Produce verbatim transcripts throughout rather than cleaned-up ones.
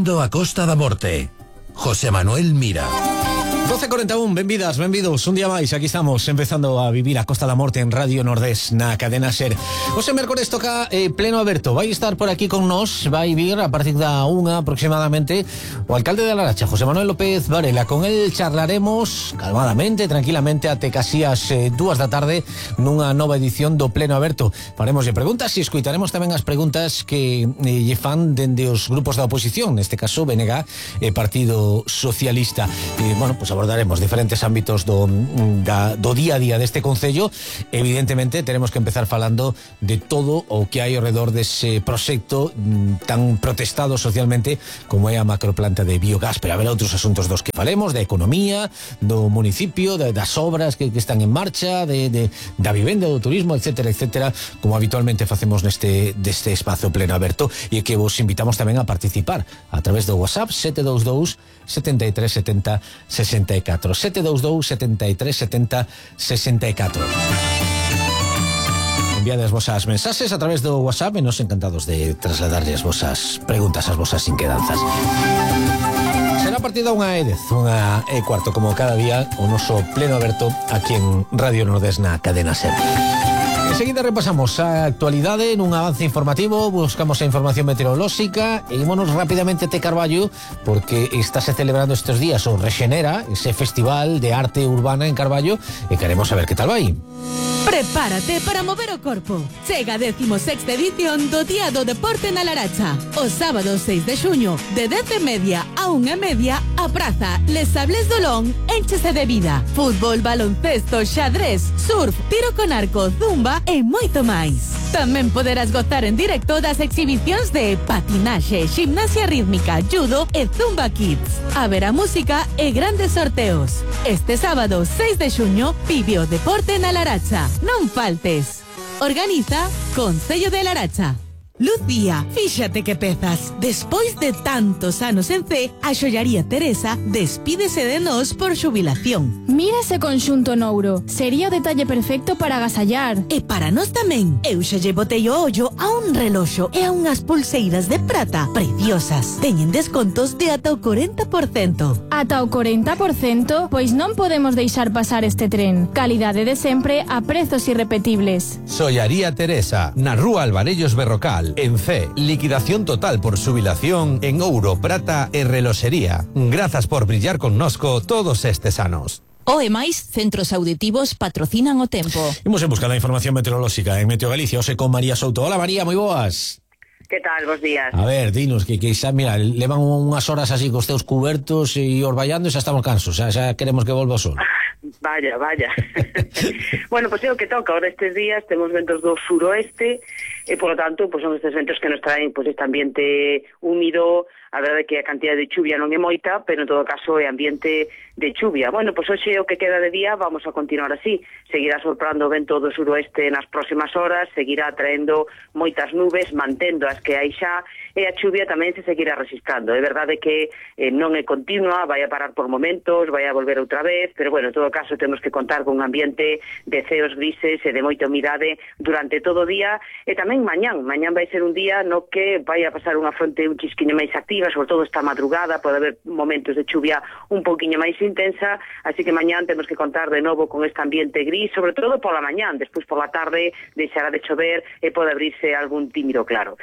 Vivindo a Costa da Morte. José Manuel Mira. doce e cuarenta e un, benvidas, benvidos un día máis, aquí estamos empezando a vivir a Costa da Morte en Radio Nordés na cadena SER. Ose mércores toca eh, pleno aberto, vai estar por aquí con nós, vai vir a partir da unha aproximadamente o alcalde de Laracha, José Manuel López Varela. Con el charlaremos calmadamente, tranquilamente até casi as eh, dúas da tarde nunha nova edición do pleno aberto. Faremoslle preguntas e escuitaremos tamén as preguntas que eh, lle fan dende os grupos da oposición, neste caso B N G e Partido Socialista. E, bueno, pues abordaremos diferentes ámbitos do, da, do día a día deste concello. Evidentemente teremos que empezar falando de todo o que hai ao redor dese proxecto tan protestado socialmente como é a macroplanta de biogás, pero haberá outros asuntos dos que falemos, da economía do municipio, de, das obras que, que están en marcha, de, de, da vivenda, do turismo, etcétera, etcétera, como habitualmente facemos neste deste espazo pleno aberto, e que vos invitamos tamén a participar a través do WhatsApp sete dous dous, sete tres sete cero, sesenta e catro sete dous dous, sete tres sete cero, sesenta e catro. Enviades vosas mensaxes a través do WhatsApp e nos encantados de trasladarlle as vosas preguntas, as vosas inquedanzas. Será a partir da unha e dez, unha e cuarto, como cada día, o noso pleno aberto aquí en Radio Nordés na cadena SER. Enseguida repasamos a actualidade nun avance informativo, buscamos a información meteorolóxica e ímonos rapidamente até Carballo, porque estáse celebrando estes días o Rexenera, ese festival de arte urbana en Carballo, e queremos saber que tal vai. Prepárate para mover o corpo. Chega a décimo sexta edición do Día do Deporte na Laracha. O sábado seis de xuño, de dez e media a unha e media, a praza Les Sables do Lón énchese de vida. Fútbol, baloncesto, xadrez, surf, tiro con arco, zumba e moito máis. Tamén poderás gozar en directo das exhibicións de patinaxe, gimnasia rítmica, judo e zumba kids. Haberá música e grandes sorteos. Este sábado seis de xuño, vive o deporte na Laracha. Non faltes. Organiza Concello de Laracha. Lucía, fíxate que pezas. Despois de tantos anos en C, a xollaría Teresa despídese de nós por xubilación. Mira ese conxunto nouro. Sería o detalle perfecto para agasallar. E para nós tamén. Eu xa lle botei o ollo a un reloxo e a unhas pulseiras de prata preciosas. Teñen descontos de ata o corenta por cento. Ata o corenta por cento? Pois non podemos deixar pasar este tren. Calidade de sempre a prezos irrepetibles. Xollaría Teresa, na rúa Alvarellos Berrocal. En C, liquidación total por xubilación en ouro, prata e reloxería. Grazas por brillar connosco todos estes anos. O e máis centros auditivos patrocinan o tempo. Imos en busca da información meteorolóxica en Meteo Galicia, hoxe con María Souto. Hola María, moi boas. Que tal, bos días? A ver, dinos, que, que xa, mira, levan unhas horas así cos teus cubertos e orballando e xa estamos cansos, xa, xa queremos que volva o sol. Vaya, vaya. Bueno, pois pues é o que toca, ahora estes días temos ventos do suroeste e, por lo tanto, pues son estes ventos que nos traen pues, este ambiente húmido. A verdade é que a cantidad de chuvia non é moita, pero en todo caso é ambiente de chuvia. Bueno, pois hoxe o que queda de día vamos a continuar así. Seguirá soprando o vento do suroeste nas próximas horas, seguirá traendo moitas nubes, mantendo as que hai xa, e a chuvia tamén se seguirá resistindo. É verdade que eh, non é continua, vai a parar por momentos, vai a volver outra vez, pero bueno, en todo caso temos que contar con un ambiente de ceos grises e de moita humidade durante todo o día, e tamén mañán. Mañán vai ser un día no que vai a pasar unha fronte un chisquiño máis activa, sobre todo esta madrugada, pode haber momentos de chuvia un poquinho máis intensa, así que mañán temos que contar de novo con este ambiente gris, sobre todo pola mañán, despois pola tarde deixará de chover e pode abrirse algún tímido claro.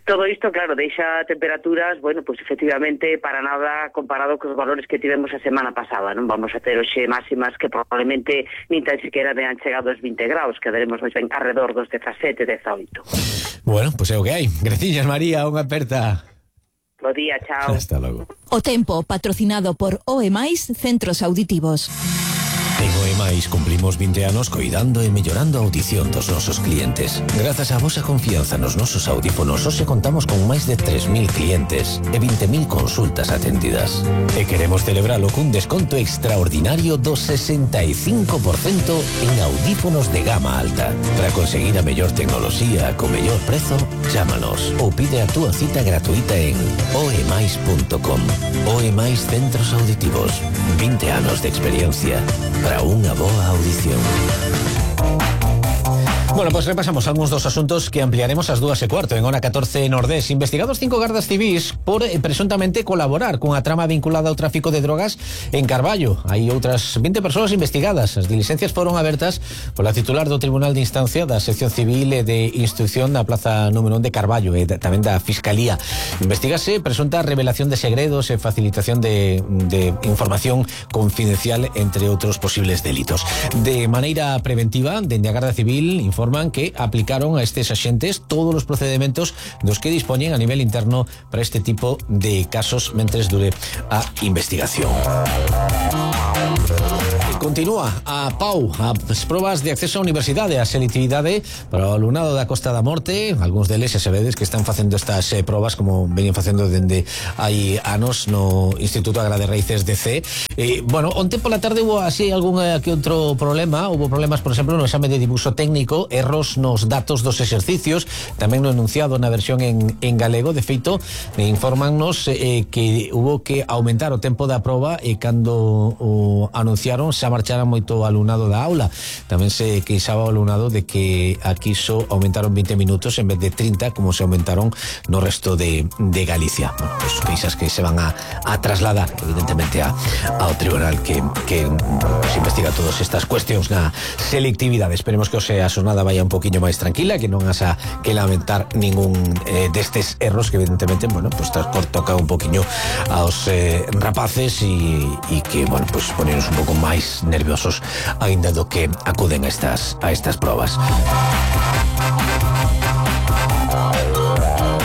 Todo isto, claro, deixa temperaturas, bueno, pues efectivamente para nada comparado cos valores que tivemos a semana pasada, non vamos a ter hoxe máximas que probablemente nin tan siquiera vean chegado aos vinte graus, quedaremos máis ben alrededor dos dezasete, dezaoito. Bueno, pois pues é o que hai. Graciñas, María, unha aperta. Bo día, chao. Hasta logo. O tempo patrocinado por O E máis Centros Auditivos. En O E máis cumplimos vinte anos coidando e mellorando a audición dos nosos clientes. Grazas á vosa confianza nos nosos audífonos, hoxe contamos con máis de tres mil clientes e vinte mil consultas atendidas. E queremos celebralo cun desconto extraordinario do sesenta e cinco por cento en audífonos de gama alta. Para conseguir a mellor tecnoloxía co mellor prezo, chámanos ou pide a túa cita gratuita en o e máis punto com. O E máis Centros Auditivos. vinte anos de experiencia para unha boa audición. Bueno, pues repasamos algúns dos asuntos que ampliaremos ás dúas e cuarto en hora catorce Nordés. Investigados cinco gardas civís por eh, presuntamente colaborar cunha trama vinculada ao tráfico de drogas en Carballo. Hai outras vinte persoas investigadas. As diligencias foron abertas pola titular do Tribunal de Instancia da Sección Civil e de Instrucción da Plaza número un de Carballo e tamén da Fiscalía. Investígase presunta revelación de segredos e facilitación de, de información confidencial, entre outros posibles delitos. De maneira preventiva, dende a Garda Civil informan que aplicaron a estes axentes todos os procedementos dos que dispoñen a nivel interno para este tipo de casos mentres dure a investigación. Continúa a P A U as probas de acceso á universidade, a selectividade para o alumnado da Costa da Morte. Algúns deles xa sabedes que están facendo estas eh, probas como veñen facendo dende hai anos no Instituto Agra de Raíces de C. Eh, bueno, onte pola tarde hubo así algún eh, que outro problema. Hubo problemas, por exemplo, no exame de dibuixo técnico, erros nos datos dos exercicios, tamén no enunciado na versión en, en galego. De feito, eh, informannos eh, que hubo que aumentar o tempo da proba e cando o anunciaron xa marchara moito alumnado da aula. Tamén se queixaba o alumnado de que aquí só aumentaron veinte minutos en vez de trinta, como se aumentaron no resto de, de Galicia. Bueno, pues queixas que se van a, a trasladar evidentemente a, ao tribunal que, que pues, investiga todas estas cuestións na selectividade. Esperemos que o sea a xornada vaya un poquinho máis tranquila, que non hasa que lamentar ningún eh, destes erros que evidentemente, bueno, pues toca un poquinho aos eh, rapaces e, e que, bueno, pues ponernos un pouco máis nerviosos aínda do que acuden a estas, a estas probas.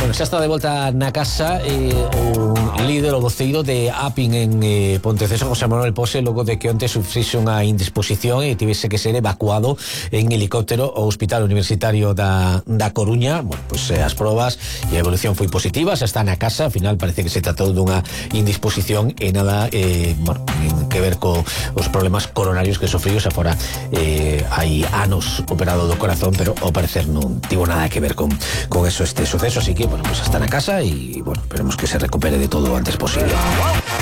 Bueno, xa está de volta na casa eh, o líder, o voceiro de APIN en eh, Ponteceso, José Manuel Pose, logo de que onte sufrixe unha indisposición e tivese que ser evacuado en helicóptero ao Hospital Universitario da, da Coruña. Bueno, pues eh, as probas e a evolución foi positiva, xa está na casa. Ao final parece que se tratou dunha indisposición e nada eh, bueno, que ver co os problemas coronarios que sofriu. Xa fora eh, hai anos operado do corazón, pero ao parecer non tivo nada que ver con, con eso este suceso, así que bueno, pues está na casa e, bueno, esperemos que se recupere de todo o antes posible.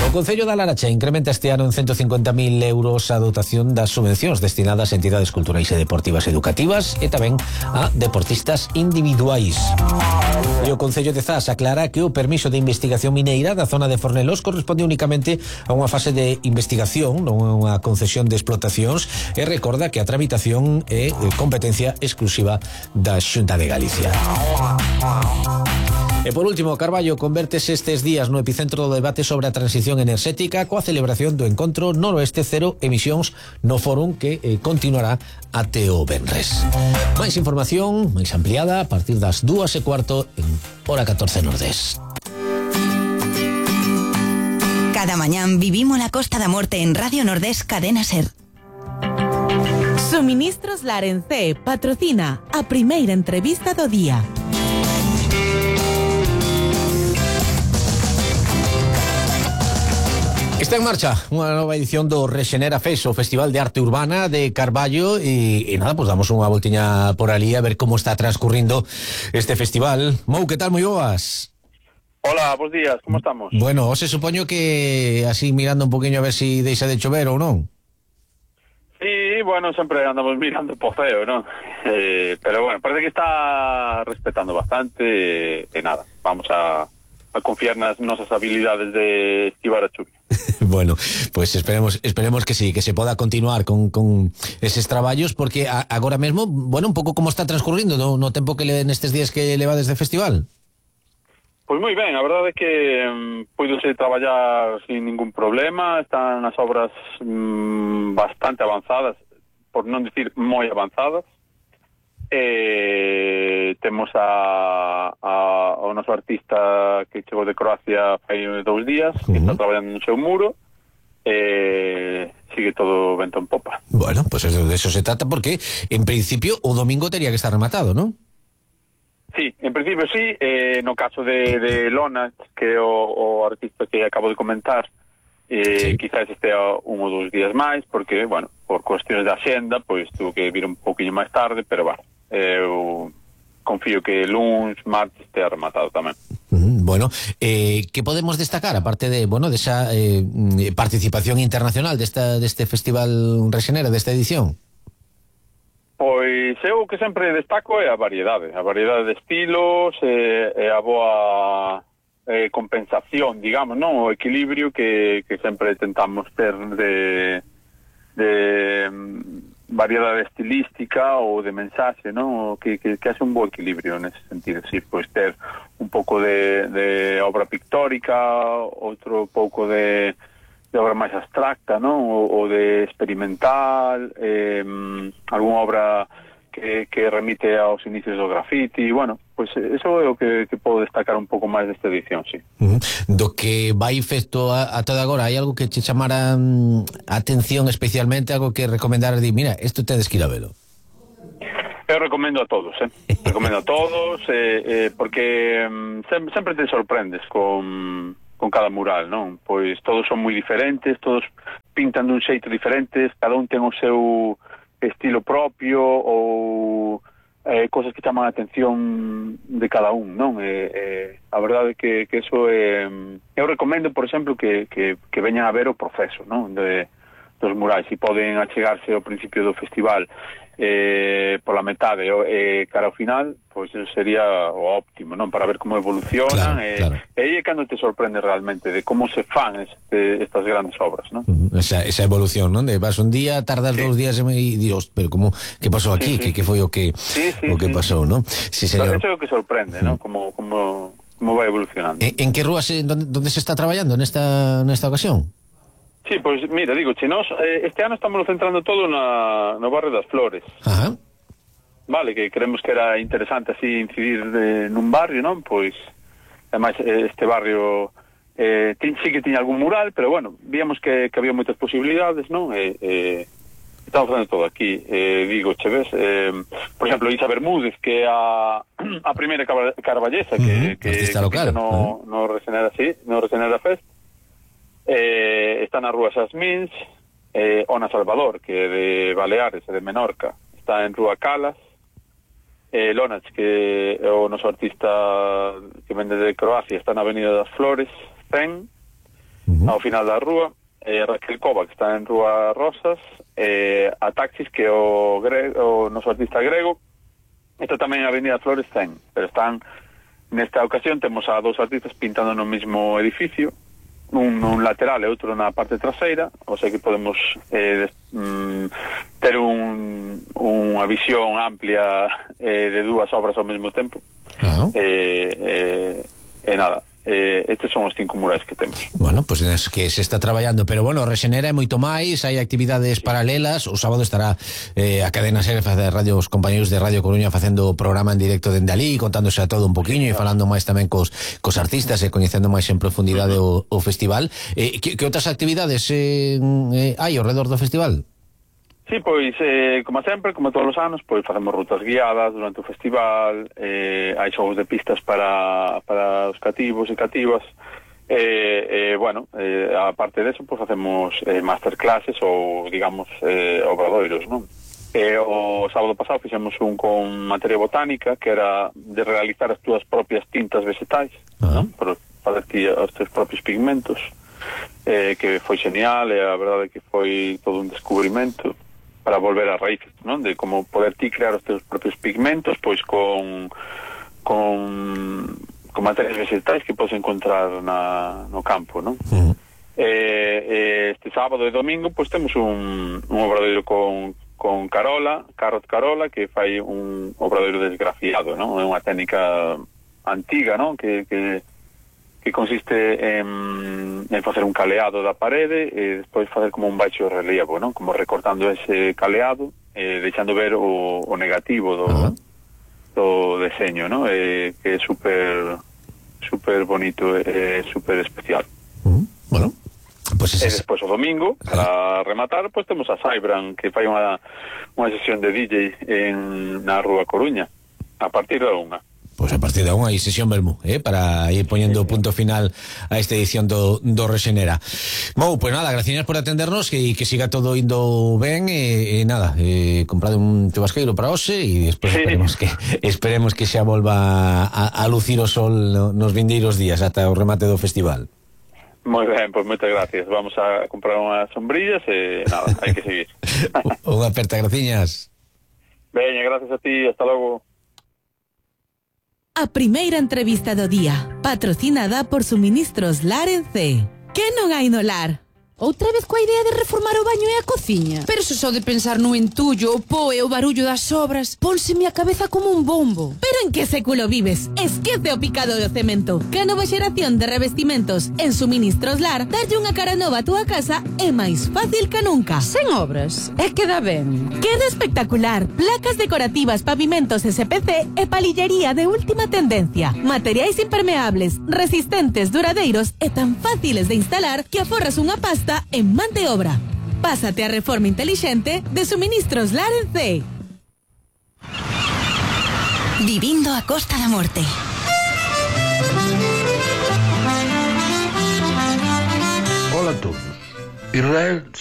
O Concello da Laracha incrementa este ano en ciento cincuenta mil euros a dotación das subvencións destinadas a entidades culturais e deportivas educativas e tamén a deportistas individuais. E o Concello de Zas aclara que o permiso de investigación mineira da zona de Fornelos corresponde únicamente a unha fase de investigación, non a unha concesión de explotacións, e recorda que a tramitación é competencia exclusiva da Xunta de Galicia. E por último, Carballo convértese estes días no epicentro do debate sobre a transición enerxética coa celebración do encontro Noroeste Cero Emisións no fórum que eh, continuará até o venres. Máis información, máis ampliada, a partir das dúas e cuarto en hora catorce Nordés. Cada mañán vivimos la Costa da Morte en Radio Nordés Cadena Ser. Suministros Larencé patrocina a primeira entrevista do día. Está en marcha unha nova edición do Rexenera Fest, o Festival de Arte Urbana de Carballo, e, e nada, pues damos unha voltiña por ali a ver como está transcurrindo este festival. Mou, que tal, moi boas? Hola, bons días, como estamos? Bueno, se supoño que así mirando un poquinho a ver si deixa de chover ou non. Sí, bueno, sempre andamos mirando po feo, non? Eh, pero bueno, parece que está respetando bastante e, e nada, vamos a, a confiar nas nosas habilidades de esquivar a chuvia. Bueno, pues esperemos esperemos que sí, que se poda continuar con, con eses traballos, porque a, agora mesmo, bueno, un pouco como está transcurrindo no, no tempo que le, nestes días que levades de festival. Pois moi ben, a verdade é que um, puidose traballar sin ningún problema, están as obras um, bastante avanzadas, por non dicir moi avanzadas. Eh, temos a, a, o noso artista que chegou de Croacia hai dous días, uh-huh. que está traballando no seu muro, e eh, sigue todo vento en popa. Bueno, pues eso, de eso se trata, porque en principio o domingo tería que estar rematado, ¿no? Sí, en principio sí, eh, no caso de, de Lona, que é o, o artista que acabo de comentar, eh, sí. Quizás este un ou dous días máis, porque, bueno, por cuestiones de axenda, pois tuvo que vir un poquinho máis tarde, pero, bueno, eu confío que luns, martes estea rematado tamén. Mm, bueno, eh, que podemos destacar, aparte de, bueno, desa eh, participación internacional desta, deste Festival Rexenera, desta edición? Pois eu o que sempre destaco é a variedade, a variedade de estilos e, e a boa eh, compensación, digamos, non? O equilibrio que, que sempre tentamos ter de, de variedade estilística ou de mensaxe, non? Que, que, que hace un bo equilibrio nese sentido, sí, pois ter un pouco de, de obra pictórica, outro pouco de de obra máis abstracta, non? O, o de experimental, eh, algunha obra que, que remite aos inicios do graffiti, bueno, pois pues eso é o que, que podo destacar un pouco máis desta edición, sí. Uh-huh. Do que vai feito a, a toda agora, hai algo que te chamara um, atención especialmente, algo que recomendar, di, mira, isto tedes que ir a velo? Eu recomendo a todos, eh? recomendo a todos, eh, eh, porque um, sempre, sempre te sorprendes con... con cada mural, non? Pois todos son moi diferentes, todos pintan dun xeito diferentes, cada un ten o seu estilo propio ou eh, cosas que chaman a atención de cada un, non? Eh, eh, a verdade é que, que eso é... Eh, eu recomendo, por exemplo, que, que, que veñan a ver o proceso, non? De, dos murais, e poden achegarse ao principio do festival eh, pola metade e eh, cara ao final, pois pues, sería o óptimo, non? Para ver como evolucionan, claro, eh, claro. E aí é cando te sorprende realmente de como se fan este, estas grandes obras, non? Uh-huh. Esa, esa evolución, non? De vas un día, tardas sí. dous días e dios, pero como, que pasou aquí? Sí, sí. Que, que foi o que sí, sí, o que sí. pasou, non? Sí, señor. Pero eso é o que sorprende, uh-huh. non? Como, como, como vai evolucionando. En, en que rúas, donde, donde se está traballando nesta, nesta ocasión? Sí, pois, pues, mira, digo, che, nos, eh, este ano estamos centrando todo na, no barrio das Flores. Ajá. Vale, que creemos que era interesante así incidir de, nun barrio, non? Pois, ademais, este barrio eh, tin, sí que tiña algún mural, pero bueno, víamos que, que había moitas posibilidades, non? Eh, eh, estamos facendo todo aquí, eh, digo, che ves, eh, por exemplo, Isa Bermúdez, que é a, a primeira carballesa que, uh-huh. que, que local. no, uh-huh. no Resenera, sí, no Resenera Fest. Eh, está na Rúa Xasmins, eh, Ona Salvador, que é de Baleares e de Menorca, está en Rúa Calas, eh, Lonach, que é o noso artista que vende de Croacia, está na Avenida das Flores, Zen, uh-huh. ao final da rúa, eh, Raquel Cova, que está en Rúa Rosas, eh, a Taxis, que é o, grego, o noso artista grego, está tamén na Avenida das Flores, Zen, pero están, nesta ocasión, temos a dos artistas pintando no mismo edificio, un, un lateral e outro na parte traseira, o sea que podemos eh, des, mm, ter un, unha visión amplia eh, de dúas obras ao mesmo tempo. Uh-huh. eh, eh, e nada, eh, estes son os cinco murais que temos. Bueno, pois pues es que se está traballando, pero bueno, Resenera é moito máis, hai actividades paralelas. O sábado estará eh, a Cadena Ser de Radio, os compañeros de Radio Coruña facendo o programa en directo dende ali, contándose a todo un poquinho e falando máis tamén cos, cos artistas e coñecendo máis en profundidade o, o festival. Eh, que, que outras actividades eh, eh, hai ao redor do festival? Sí, pois, eh, como sempre, como todos os anos, pois facemos rutas guiadas durante o festival, eh, hai xogos de pistas para, para os cativos e cativas, eh, eh, bueno, eh, a parte deso, pois facemos eh, masterclasses ou, digamos, eh, obradoiros, non? Eh, o sábado pasado fixemos un con materia botánica, que era de realizar as túas propias tintas vegetais, uh-huh. non? Por fazer ti os teus propios pigmentos, eh, que foi genial, e a verdade que foi todo un descubrimento para volver a raíces, non? De como poder ti crear os teus propios pigmentos, pois con con, con materias vegetais que podes encontrar na, no campo, non? Uh-huh. eh, este sábado e domingo, pois temos un, un obradoiro con, con Carola, Carrot Carola, que fai un obradoiro desgrafiado, non? É unha técnica antiga, non? Que, que que consiste en, en facer un caleado da parede e despois facer como un baixo relievo, non? Como recortando ese caleado e deixando ver o, o negativo do, uh-huh. do deseño, non? E, que é super super bonito e super especial. Uh-huh. Bueno, pues e despois o domingo, para rematar, pois temos a Saibran, que fai unha, unha sesión de D J en, na Rúa Coruña, a partir da unha. Pois pues a partir de unha hai sesión Bermú, eh, para ir poñendo punto final a esta edición do, do Resenera. Mou, pois pues nada, gracias por atendernos, que, que siga todo indo ben, e, e nada, eh, comprade un chubasqueiro para hoxe e despois sí. esperemos que esperemos que xa volva a, a lucir o sol no, nos vindeiros días ata o remate do festival. Moi ben, pois pues moitas gracias. Vamos a comprar unhas sombrillas e nada, hai que seguir. Unha aperta, graciñas. Veña, gracias a ti, hasta logo. A primeira entrevista do día, patrocinada por Suministros Lar en C. Que non hai no lar? Outra vez coa idea de reformar o baño e a cociña. Pero se só de pensar no entullo, o po e o barullo das obras, pónseme a cabeza como un bombo. Pero en que século vives? Esquece o picado do cemento. Que a nova xeración de revestimentos en Suministros Lar darlle unha cara nova a túa casa é máis fácil que nunca. Sen obras, é que dá ben. Queda espectacular. Placas decorativas, pavimentos S P C e palillería de última tendencia. Materiais impermeables, resistentes, duradeiros e tan fáciles de instalar que aforras unha pasta en man de obra. Pásate a reforma inteligente de Suministros Lar en C. Vivindo a Costa da Morte. Hola a todos. Israel